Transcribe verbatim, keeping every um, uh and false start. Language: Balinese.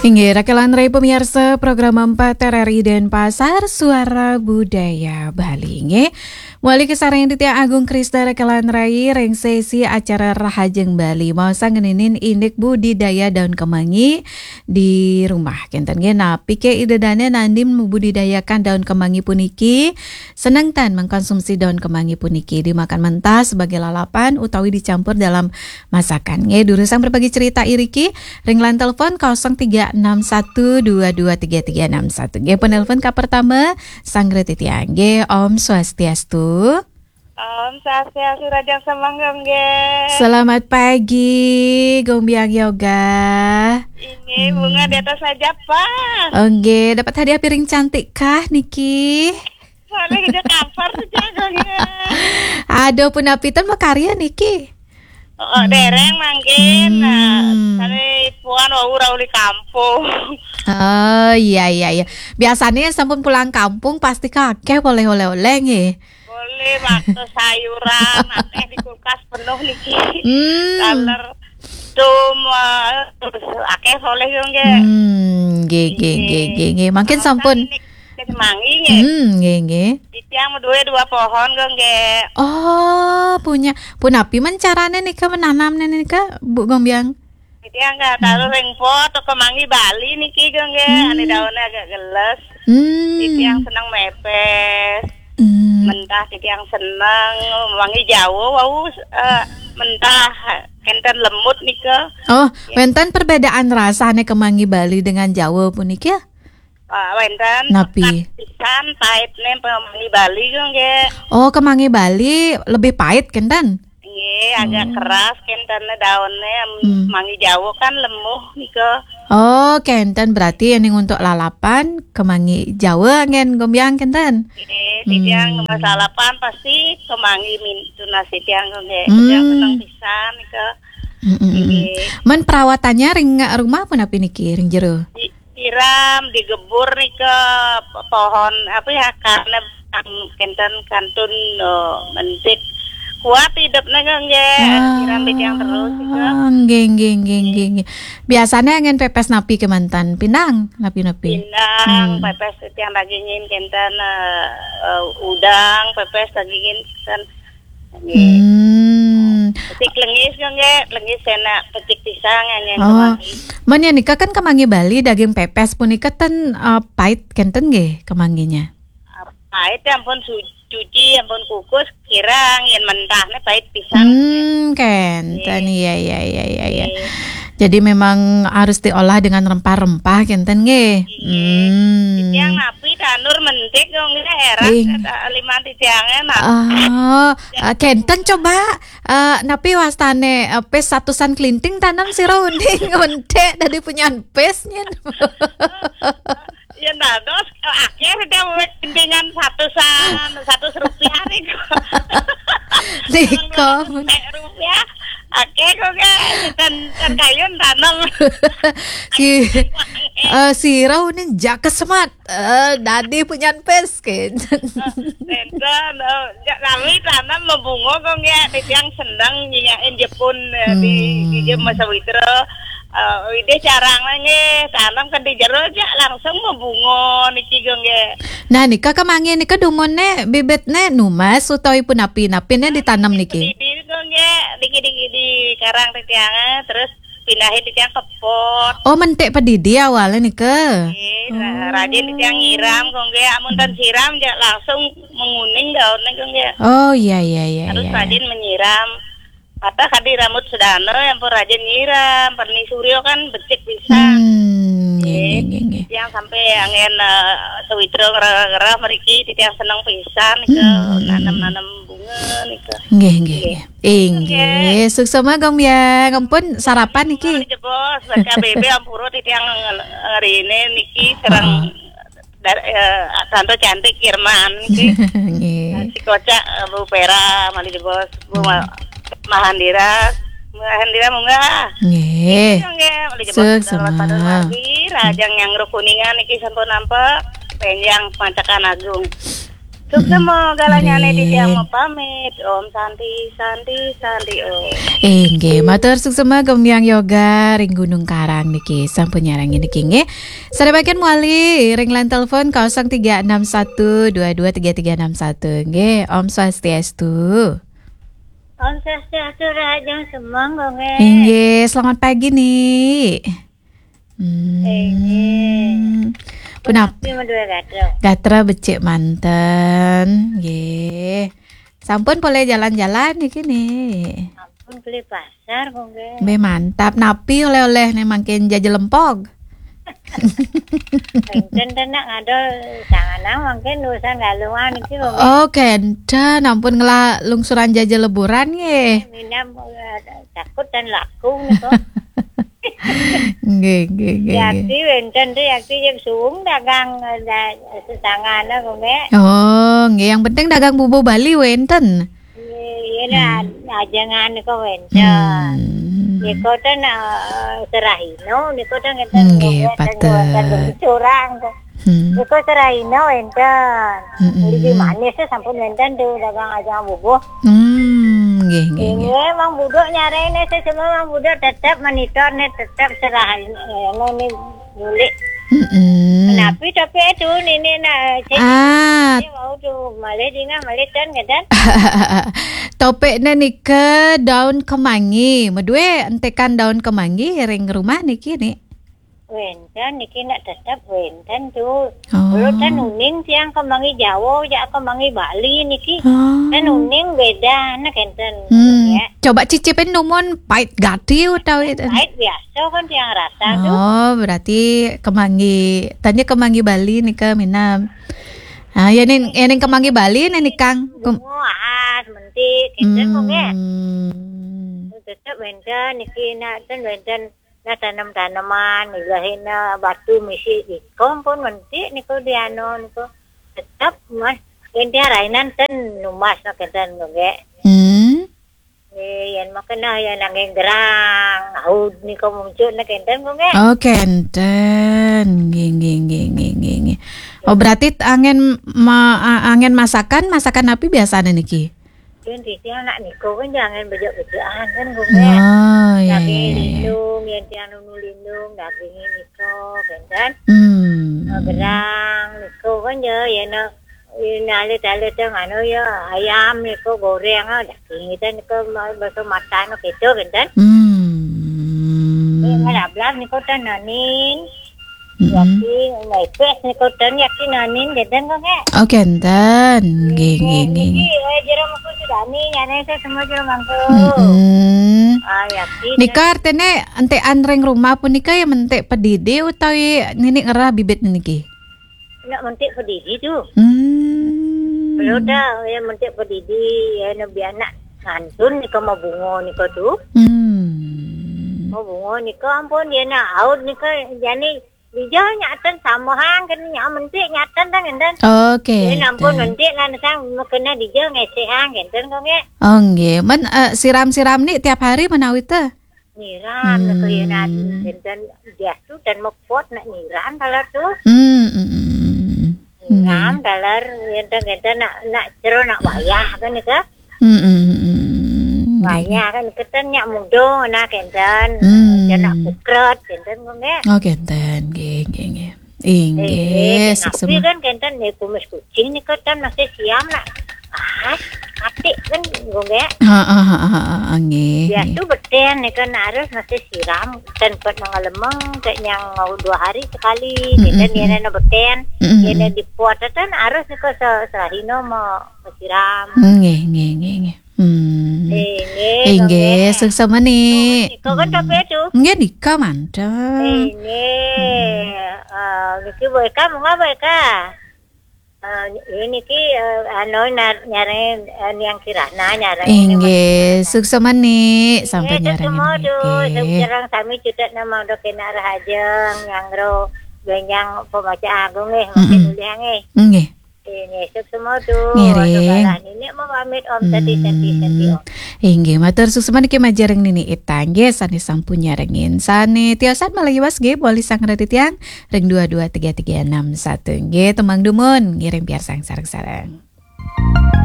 Inggih, Rakelan Rai pemirsa program empat R R I Denpasar, Suara Budaya Bali. Inggih, malih kasarengin titiang Agung Krisna Rakelan Rai ring sesi acara Rahajeng Bali. Maosang ngeninin indik budidaya daun kemangi di rumah. Kenten nggih, napi ké ida dané nandin membudidayakan daun kemangi puniki? Seneng tan mengkonsumsi daun kemangi puniki dimakan mentah sebagai lalapan utawi dicampur dalam masakan. Nggih, durusang berbagi cerita iriki ring line telepon kosong tiga enam satu dua dua tiga tiga enam satu. Nggih, penelpon ka pertama, sanggra titiang. Nggih, Om Swastiastu. Om Swastiastu, rahajeng semeng nggih. Selamat pagi, Gombiang Yoga. Ini bunga di atas aja, Pak. Oh, nggih, dapat hadiah piring cantik kah niki? Soalnya kita kampar tuh jago nggih. Aduh, punapi ten makarya niki? Oh, hmm. Dereng mangkin. Nah, hmm. Sane puan wau rauh di kampung. Oh, iya, iya, iya. Biasanya sampun pulang kampung pasti kakeh boleh oleh-oleh nggih. Boleh, waktu sayuran, akeh di kulkas penuh niki. Hmm. Taler, dum, eh, terus akeh oleh yo nggih. Hmm, nggih, nggih, nggih, nggih, nggih. Mangkin sampun ini kemangi nggih. Hmm, nggih, nggih. Titiang duwe dua pohon kok nggih. Oh, punya. Punapi men carane nika menanamne nika, Bu Gombiang? Titiang nggih taruh ring pot, kemangi Bali niki kok nggih. Hmm. Ane daunnya agak geles. Hmm. Titiang seneng mepes. Hmm. Mentah titiang seneng, mangi Jawa wau, eh, mentah kenten lemut nika. Oh, ya. Wenten perbedaan rasane kemangi Bali dengan Jawa puniki? Ah, wenten. Napi? Pekat pisan paitne kemangi Bali kok nggih. Oh, kemangi Bali lebih pahit kenten? Nggih, agak keras kenten daunnya. Hmm. Mangi Jawa kan lemuh nika. Oh, kenten berarti yang untuk lalapan kemangi Jawa ngen Gombiang kenten? Nggih, titiang hmm. Mas lalapan pasti kemangi min-, tunas titiang kok nggih. Hmm. Titiang seneng pisan nika. Mm, mm, mm. Nggih. Men perawatannya ring rumah punapi niki, ring jero? Di-, siram, digebur nika pohon apa ya, karena kenten kantun, oh, mentik. Kuat hidupnya kok nggih. Ah, siram titiang terus nika. Nggih, nggih, nggih, nggih, nggih. Biasanya angin pepes napi kemanten? Pinang, napi-napi? Pinang, hmm. Pepes titiang dagingin kenten, eh, eh, udang, pepes dagingin kenten. Nggih. Hmm. Pecik lengis yo nggih, lengis enak, pecik pisang yang, yang oh. Kemangi. Men ya nika kan kemangi Bali, daging pepes punika ten, eh, pahit kenten nggih kemanginya. Pahit ya ampun su-, cuci, ampun kukus, kirang yen mentahnya pahit pisang. Hmm, kenten. Nggih. Iya, iya, iya, iya, iya. Nggih. Jadi memang harus diolah dengan rempah-rempah kenten nggih. Nggih. Hmm. Titiang napi tanur mentik dong nggih heran kata lima titiangnya napi. Oh, eh, kenten coba, eh, napi wastane, eh, pes satusan kelinting tanam sira uning mentik dadi punyan pes nyen. Ya dados, eh, akhir dia mulai kelintingan satusan, seratus rupiah nih kok. Nika. Rupiah. Oke, kok kan, kan, kan kayun tanam. Si, eh, sira uning jaka semat. Eh, dadi punyan pes, ken. Enten, eh, ja-, nami tanam mabunga kok nggih, titiang seneng nyingakin jepun, eh, di, hmm. Di jem masa widra. Eh, widih carang nggih, tanam kan di jero ja langsung mabunga niki kok nggih. Nah, nika kemangi nika dumunne bibitne numbas utawi punapi-napine ditanam niki? Didi kok nggih, dikit-dikit di karang titiang, eh, terus pindahin titiang ke pot. Oh, mentik pedidi awalnya nika. Nggih, ra-, rajin titiang nyiram kok nggih, amun tan siram ja langsung menguning daunnya kok nggih. Oh, iya, iya, iya. Harus iya, iya. Rajin menyiram. Patah kadi rambut sedana yang pun rajin nyiram, perni suryo kan becik pisan. Hmm, nggih, nggih, nggih, nggih. Yang sampai angin, eh, sewitra ngerah-ngerah meriki, titiang seneng pisan ke hmm, hmm, hmm, nanam-nanam bunga nika. Nggih, nggih, nggih. Nggih. Inggih, suksma Gombiang. Ampun sarapan niki. Jebos, baca B B ampura titiang ngerine niki serang heeh. Dar-, eh, Tante Cantik Kirman niki. Nggih. Si Kocak, eh, Bu Pera, malih jebos, Bu Ma-, Mahandira. Mahandira munggah. Nggih. Nggih, malih jebos. Suksma. Rahajeng yang Kuningan niki sampun nampak. Penjang Pancakan Agung. Suksma, galahnyane titiang mapamit. Om Santi, Santi, Santi Om. Inggih, matur suksma Gembyang Yoga ring Gunung Karang niki, sampun nyarengin niki nggih. Sarebaken mawali ring line telepon kosong tiga enam satu dua dua tiga tiga enam satu nggih. Om Swastiastu. Om Swastiastu, Rahajeng Semeng, nggih. Inggih, selamat pagi, Ni. Hmm. Inggih. Punapa? Punapi madue gatra? Gatra becik manten, nggih. Sampun polih jalan-jalan niki, Ni. Sampun beli pasar, nggih. Be mantap, napi oleh-oleh ne mangkin jaja lempog? Enten ten nak ngadol sanganang mangkin urusan galungan niki, nggih. Oh, kenten, ampun ngelah lungsuran jaja leburan nggih. Minam, eh, takut dan laku niko. Nggih, nggih, nggih, nggih. Yakti wenten tu, yakti jek suung dagang, eh, da-, sesangana, nggih. Oh, nggih, yang penting dagang bubuh Bali wenten. Nggih, iya, nah, hmm, ajengan niko wenten. Hmm. Niko ten, eh, serahino, niko ten ngeten, nggih, nggih, ten patut. Wenten curang tu. Hmm. Niko serahino wenten. Mm-mm. Lidi manis tu sampun wenten tu dagang ajengan bubuh. Hmm, nggih, nggih, nggih. Inggih, Mang Buduk nyarengin, semua Mang Buduk tetep monitor ne, tetep serahino, eh, ne, ne, nyulik. Mm-mm. Napi tapi tu, nini nak, cek, ah, ni mau tu, malih dingah, malih ten, katan. Topikne nika daun kemangi. Madue entekan daun kemangi ring rumah niki, Ni? Wenten niki nak tetep wenten tu. Oh. Kalau ten uning tiang kemangi Jawa, jak kemangi Bali niki. Oh. Ten uning beda, nak enten. Hmm. Ya. Coba cicipin dumun pait gati utawi ten? Pait biasa kan tiang rasa tu. Oh, berarti kemangi, tanya kemangi Bali nika minam. Ah, ya ning, ya ning kemangi Bali ne nikang. Kem- Dungu, ahas, mentik, enten kok, nggih. Hmm. Tetep wenten niki nak ten wenten nah tanem-taneman, ilahina batu misi ikom pun mentik niku diano niku. Tetep mas, enten rainan ten numbas nak enten kok, nggih. Hmm. Eh, yen makena yen angin gerang, aud nika muncul nak enten kok, nggih. Oh, kenten. Nggih, nggih, nggih, nggih, nggih, nggih. Oh, berarti angin ma-, a-, angin masakan, masakan napi biasane niki? Yen titiang nak nika kan jangan bejak-bejakan kan, kok, nggih. Oh, iya, daging iya, iya, iya, lindung, yen tiang nunu lindung, dagingnya nika, kan, kan? Hmm. Nah, gerang, nika kan ya, ya nak Ina alit-alit yang anu ya, ayam niku goreng, ah, daging itu niku ma-, bakso mata niku gitu, kinten. Hmm. Eh, ngalablah niku ten nanin. Mm-mm. Yaki, naipes niku ten yaki nanin, kinten kok, nggih. Oh, kinten. Nggih, nggih, nggih, nggih. Niki, eh, jero mangku sudani, nyane saya semua jero mangku. Mm-mm. Ah, yaki. Nika artine entekan ring rumah punika ya mentik pedidi utawi nini ngerah bibit niki? Nak mentik pedidi tu. Hmm. Kalau dah, ya mentik pedidi, ya nak biar nak ngantun nika mau bunga nika tu. Hmm. Mau bunga nika ampun, ya nak aud nika, jani dijal nyaten sama hang, kena nyak mentik nyaten dah, ngenten. Okey. Ya ampun, okey, mentik nak sang kena dijal ngesek hang, ngenten kok, nggih. Oh, nggih. Men, eh, siram-siram ni tiap hari menawi teh? Nyiram, hmm, nak kelinan, dan, dan dia tu dan mepot nak nyiram taler tu. Hmm, hmm, hmm, hmm. Nyiram taler, ngenten-ngenten nak, nak jero nak wayah kan nika. Hmm, hmm, hmm, hmm. Wayah kan kenten nyak mudo nak kenten. Hmm. Dan nak pukret kenten kok, nggih. Oh, kenten, nggih, nggih, nggih. Inggih, eh, suksma. Tapi kan kenten nih kumis kucing nih kan masih siam nak. Ah, mati kan, nggih. Heeh, heeh, heeh, nggih, nggih. Biasa beten nih kan harus masih siram, kan buat mengalemeng, kayak yang mau dua hari sekali, mm-mm, gitu, mm-mm, dia nak beten, mm-mm, dia nak dipot, kan harus nih kok se-, sehari no mau siram. Nggih, nggih, nggih, nggih. Hmm. Inggih, inggih, nggih. Suksma ni. Nika kan tapi tu. Nggih, nika mantep. Inggih. Hmm. Ah, niki baik, monggo baik. Ah, ini ki, eh, anu, nar-, nyareng, eh, yang kirana nyareng. Inggih, suksma ni, sampun nyareng semua tu, niki. Sekarang sami cutet nama udah kena rahajeng, yang ro, genjang pembaca agung, eh, makin, mm-mm, ulih, eh. Nggih. Nggih, suksma tu. Ngiring. Aduh, kalah nini mau pamit, Om, tadi, tadi, tadi, Om. Hmm. Inggih, matur suksma niki majeng ring Nini Ita, nggih, sane sampun nyarengin. Sane tiosan malih iwas, nggih, mawali sareng titiang ring dua dua tiga tiga enam satu, nggih, tembang dumun, ngiring piarsang sareng-sareng.